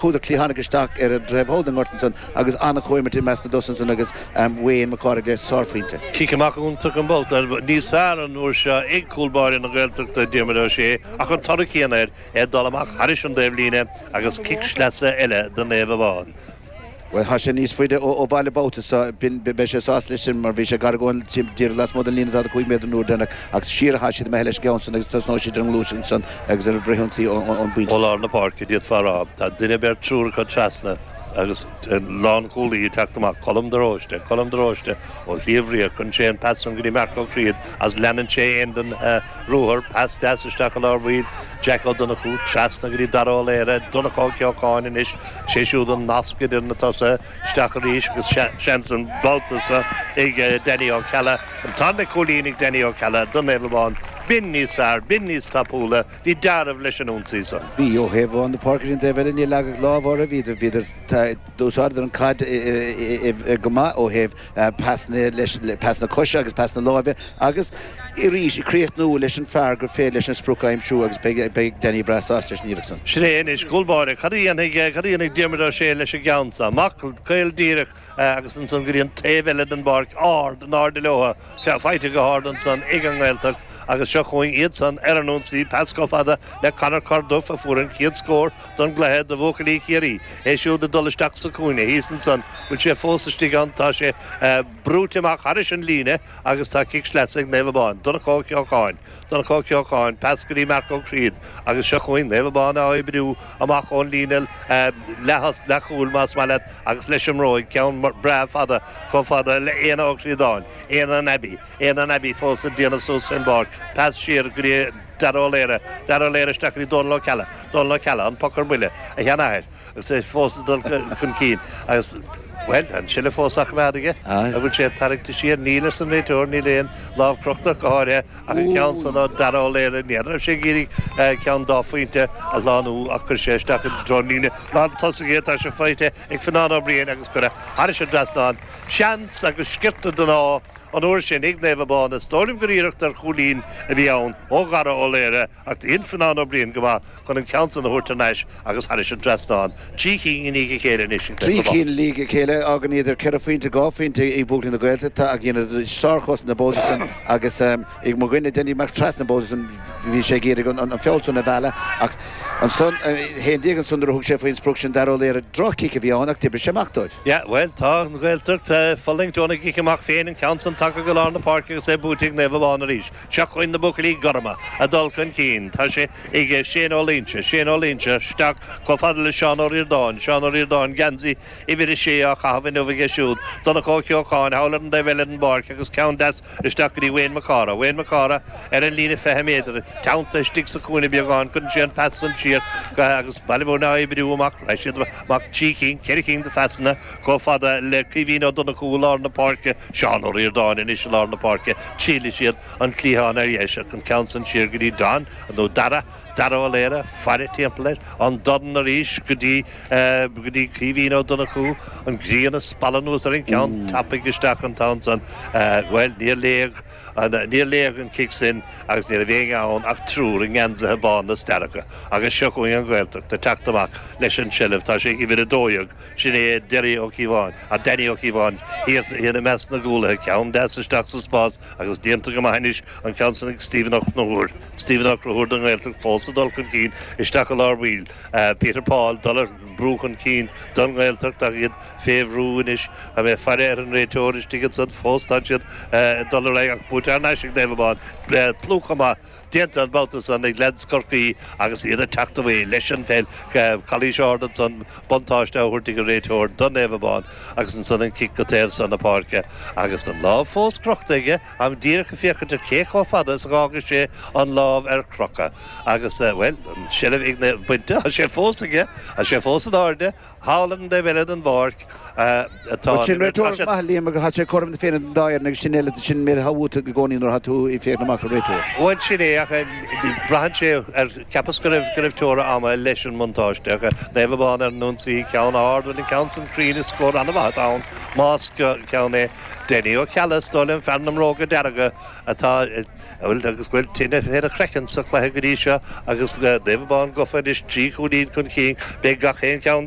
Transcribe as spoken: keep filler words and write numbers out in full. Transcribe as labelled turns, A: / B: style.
A: Chuadar cliathánach isteach ar an dtaobh thall den ngort ansan agus an-chomhimirt i measc na dtosaithe ansan agus Wayne Mac Cárthaigh le sárphointe.
B: Cic amach iontach an babhta níos fearr an uair seo ag cúl báire na Gaeltachta, Diarmuid Ó Sé, ach an toradh céanna air, é ag dul amach thairis an dtaobhlíne agus cic sleasa eile do Naomh Abán.
A: Bhuel, tá sé níos faide ó bhaile babhta seo, beidh sé sásta leis sin mar bhí sé gar go díreach lasmuigh den líne daichead a cúig méadar an uair deireanach agus siar atá siad imithe leis an gceann san agus tosnóidh siad ar an ngluaiseacht ansan agus ar an bhfrithionsaí ón bpointe.
B: Ó lár na páirce, d'fhéadfá a rá. Tá duine, beirt, triúr acu trasna agus lánchúlaí ag teacht amach, Colm de Róiste, Colm de Róiste ó Shliabh Riach, cuireann sé an pas san go dtí Marc Ó Críod agus leanann sé é den ruathar, pas deas isteach i lár baill, Jack Ó Donnchú trasna go dtí Dara Ó Laoire, Donncha Ó Ceocháin anois, sé siúd an nasc idir na tosaithe, isteach arís agus seans an babhta seo ag Danny Ó Ceallaigh, an tarna cúilín ag Danny Ó Ceallaigh do Naomh Abán. B'in níos fearr, b'in níos tapúla, bhí deáramh leis an ionsaí san.
A: Bhí, ó thaobh na páirce ar an taobh eile, níor leagadh lámh orthu, bhíodar, bhíodar, d'úsáideadar an caid go maith ó thaobh pasanna leis, pasanna coise agus pasanna láimhe agus arís ag críochnú leis an fear gur féidir leis an sprioc a aimsiú agus beidh, beidh Danny breá sásta leis an iarracht san.
B: Sin é anois, cúl báire, cad a dhéanfaidh, cad a dhéanfaidh Diarmuid Ó Sé leis an gceann seo? Amach caol díreach agus ansan go dtí an taobh eile den bpáirc, ard, in airde leo. Faighte go hard ansan ag an nGaeltacht agus seo chugainn iadsan ar an ionsaí. Pas chomh fada le Conor Corduff a fuair an chéad scór don gcluiche do bhuachaillí Chiarraí. É siúd ag dul isteach sa chúinne thíos ansan. Bhfuil sé fós istigh ann? Tá sé brúite amach thairis an líne agus tá cic sleasa ag Naomh Abán. Donncha Ó Ceocháin. Donncha Ó Ceocháin, pas go dtí Marc Ó Críod agus seo chugainn Naomh Abán á oibriú amach ón líne leathchúil más maith leat agus leis an mbróig, ceann breá fada chomh fada le Éanna Ó Críodáin. Éanna an Abbey, Éanna an Abbey fós ag déanamh suas fén bpáirc, pas siar go dtí Dara Ó Laoire, Dara Ó Laoire isteach go dtí Dónal Ó Ceallaigh, Dónal Ó Ceallaigh, an poc ar buile, a sheanathair, agus é fós ag dul chun cinn agus, bhuel, an seilbh fós á choimeád aige, an bhfuil sé tarraingte siar? Níl, arsa an réiteoir, níl aon lámh crochta ach go háirithe ach an ceann san ó Dara Ó Laoire, n'fheadar raibh sé ag iarraidh ceann dá phointe a shlánú ach chuir sé isteach i dtreo an líne lán tosaigh é, tá sé faighte ag Fionnán Ó Briain agus curtha thairis an dtrasnán. Seans agus sciorta den ádh an uair sin ag Naomh Abán. Is dóigh liom gur iarracht ar chúilín a bhí ann ó Dhara Ó Laoire ach dhein Fionnán Ó Briain go maith chun an ceann san a thabhairt thar n-ais agus thairis an dtrasnán. Trí chinn i ndiaidh a chéile anois ag
A: Trí
B: Naomh Abán.
A: cinn i ndiaidh a chéile, fágann iad ar ceithre phointe, dhá phointe ag buachaillí na Gaeltachta ach dheineadar sárchosaint an babhta san agus ag mo dhuine Danny Mac Trasna an babhta san bhí sé ag iarraidh an feall san a mhealladh ach ansan, haon déag ansan nuair a thug sé faoin sprioc sin Dara Ó Laoire, droch-chic a bhí ann ach d'oibrigh sé amach dóibh.
B: Yeah, bhuel, tá an Ghaeltacht ag fulaingt óna gcic amach féin, an ceann san tagtha go lár na páirce agus é buaite ag Naomh Abán arís. Seo chugainn na buachaillí gorma ag dul chun cinn. Tá sé ag Shane Ó Loingsigh, Shane Ó Loingsigh isteach chomh fada le Seán Ó Ríordáin, Seán Ó Ríordáin, geansaí uimhir a sé á chaitheamh inniu aige siúd. Donncha Ó Ceocháin thall ar an dtaobh eile den bpáirc agus ceann deas isteach go dtí Wayne Mac Cárthaigh. Wayne Mac Cárthaigh ar an líne fiche méadar, teannta istigh sa chúinne beagán, cuireann sé an pas san siar agus Baile Mhúirne á oibriú amach. Rachaidh siad amach trí chinn, ceithre chinn de phasanna chomh fada le Caoimhín Ó Donnchú i lár na páirce, Seán Ó Ríordáin anois i lár na páirce. Triailfidh siad an cliathán ar dheis ach an ceann san siar go dtí Don, nó Dara, Dara Ó Laoire, faire timpeall air, an dorn arís go dtí, go dtí Caoimhín Ó Donnchú, an ghrian ag spalladh anuas ar an gceann tapaidh isteach an t-am san. Bhuel, níor léadh, níor léadh an cic sin agus ní raibh éinne ann ach triúr i ngeansaithe bána is dearga. Agus seo chugainn an Ghaeltacht ag teacht amach leis an tseilbh. Tá sé ag uimhir a dó dhéag, sin é Derry Ó Cíobháin, Danny Ó Cíobháin, thiar i measc na gcúlaithe. Ceann deas isteach sa spás agus déanta go maith anois an ceann san ag Stephen Ó Conchúir. Stephen Ó Conchúir don nGaeltacht fós ag dul chun cinn isteach i lár baill. Peter Paul dul ar brú chun cinn don nGaeltacht ach iad fé bhrú anois. Tá mé ag faire ar an réiteoir istigh ansan fós. Tá siad ag dul ar aghaidh ach buaite thar n-ais ag Naomh Abán. Plúchadh maith déanta an babhta san ag leaids Chorcaí agus iad ag teacht away leis an pheil. Calaois ard ansan, buntáiste á thabhairt ag an réiteoir do Naomh Abán agus ansan an cic go taobh san na páirce agus an lámh fós crochta aige. Táim díreach ag féachaint ar cé chomh fada is a dh'fhágfaidh sé an lámh ar crochadh agus, bhuel, an tseilbh ag na, bainte, tá sé fós aige, tá sé fós in airde, thall ar an dtaobh eile den bpáirc atá
A: Bhuel, sin
B: an imirt. Tá
A: réiteoir
B: sé.
A: maith, Liam, agus tá sé cothrom na Féinne don dá fhoireann agus sin eile, sin méid atá uait i gcónaí nuair atá tú ag féachaint amach ar réiteoir.
B: Bhuel, sin é, ach braitheann sé ar cheapas go raibh go raibh teora ama leis an mbuntáiste Naomh Abán ar an ionsaí ceann ard an ceann san cruinn is scór an-mhaith ann más ceann é Denny Ó Cealla stó fear na mbróga dearga atá bhfuil agus bhfuil tine féar a chrechen sa chluiche go dtí seo agus Naomh Abán gofa is trí chúilín chun cinn beidh gach aon cheann